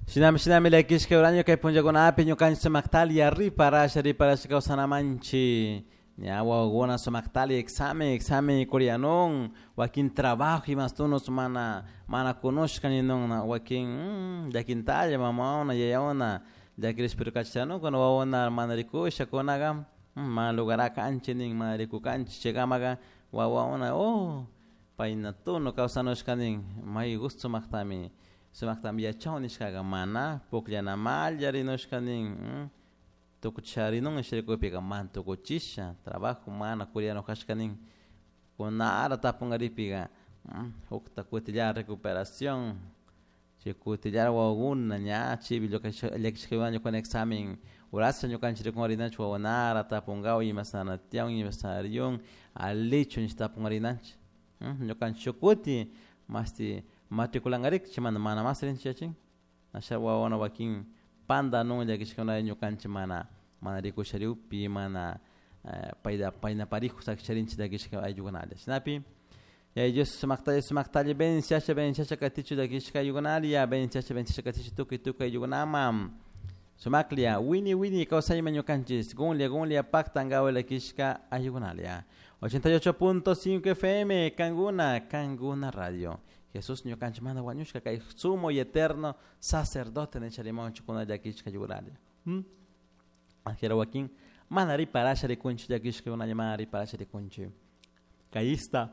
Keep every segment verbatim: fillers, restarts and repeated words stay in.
Shinami shinami llakishka uraño kay punllakunapi ñukanchik sumaktalia riparasha riparasha kawsanamanchik ña wawakuna sumaktali examen examen kurianun wakin trabajo imastunus mana mana kunushka ninunna wakin mm, llakintalla mamawna yayawna llakirishpa kachashanukuna wawakuna mana rikusha kunaga mana lugarakanchik nin mana rikukanchik chaykamaka wawakuna oh payna tunu kawsanushka nin may gusto sumaktami sumaktami yachawun nishkaka mana pukllanamalla rinushka nin tukucharinun sharikupika mana tukuchisha trabajo mana kurianukashka nin kunara tapunkaripika hukta kutillara recuperación chay kutillara wawakuna ña chaypi llakishkakuna ñukana examen urasha ñukanchik rikunkarinanchik wawanara tapunkawan imasana tiyan imasana riyun alichu nish tapunkarinanchik ñukanchik shuk kuti mashti matriculankarik chaymanta mana mas rinchik yachin asha wawakuna wakin pantanun llakishkuna ñukanchik mana mana rikusharikpi mana payta payna parijo sakisharinchik llakishka ayllukunalla shinapi Yaya Dios sumaktalla sumaktalla bendiciasha bendiciasha katichu llakishka ayllukunalla bendiciasha bendiciasha katichu tukuy tukuy ayllukunaman sumaklla wini wini kawsayman ñukanchik gunlla gunlla paktankawan llakishka ayllukunalla ochenta y ocho punto cinco F M Kanguna Kanguna Radio. Jesús ñukanchikmanta wañushka kay sumo y eterno sacerdote nisharimanchik kuna llakishka ayllukunalla Angela wakin mana riparasha rikunchik llakishka kunalla mana riparasha rikunchik kayista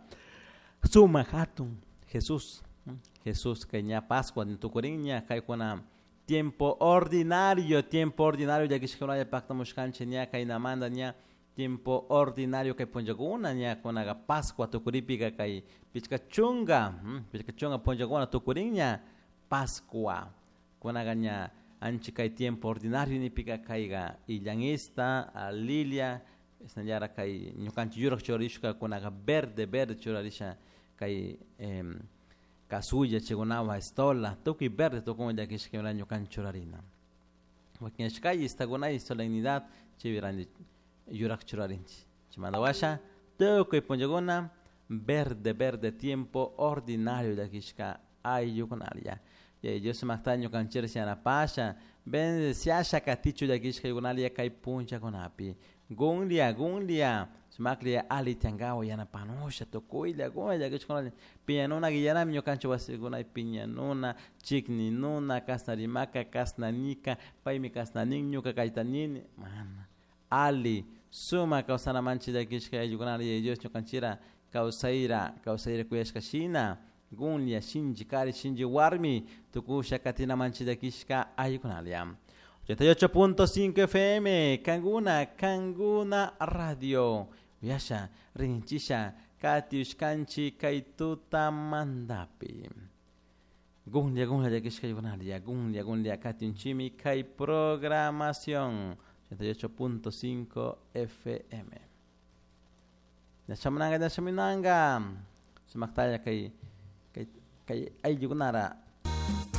sumak hatun Jesús Jesús kay ña Pascua tukurinña kaykuna tiempo ordinario tiempo ordinario llakishkakunalla paktamushkanchik ña kaynamanta ña tiempo ordinario kay punllakuna ña kunaka Pascua tukuripika kay pichka chunka pichka chunka punllakuna tukurinña Pascua kunaka ña ancha kay tiempo ordinario nipika kayka illanista lilia chasnallara kay ñukanchik yurak churarishka kunaka verde verde churarisha kay kasulla chaykunawan estola tukuy verde tukun llakishka ñukanchik churarina wakin ashkay istakunay solemnidad chaypi ranti yurak churarinchik chaymanta washa tukuy punllakuna verde verde tiempo ordinario llakishka ayllukunalla. Yaya Dios sumakta ñukanchik yanapasha bendiciasha katichu llakishka ayllukunalla kay punllakunapi gunlla gunlla sumaklla alli tiyankawan yanapanusha tukuylla gunlla llakishkakunalla piñanuna guillanami ñukanchik wasikunapika piñanuna chikninuna kashna rimaka kashna nika paymi kashna nin ñuka kayta nini mana alli sumak kawsanamanchik llakishka ayllukunalla. Yaya Dios ñukanchikra kawsayra kawsayra kuyashka shina gunlla shinchi kari shinchi warmi tukusha katinamanchik llakishka ayllukunalla. ochenta y ocho punto cinco F M Kanguna Kanguna Radio uyasha rinchisha katiushkanchik kay tutamantapi gunlla gunlla llakishka ayllukunalla gunlla gunlla katinchimi kay programación ochenta y ocho punto cinco F M. Ñachamunanka ñachamunanka sumaktalla kay kay kay ayllukunara.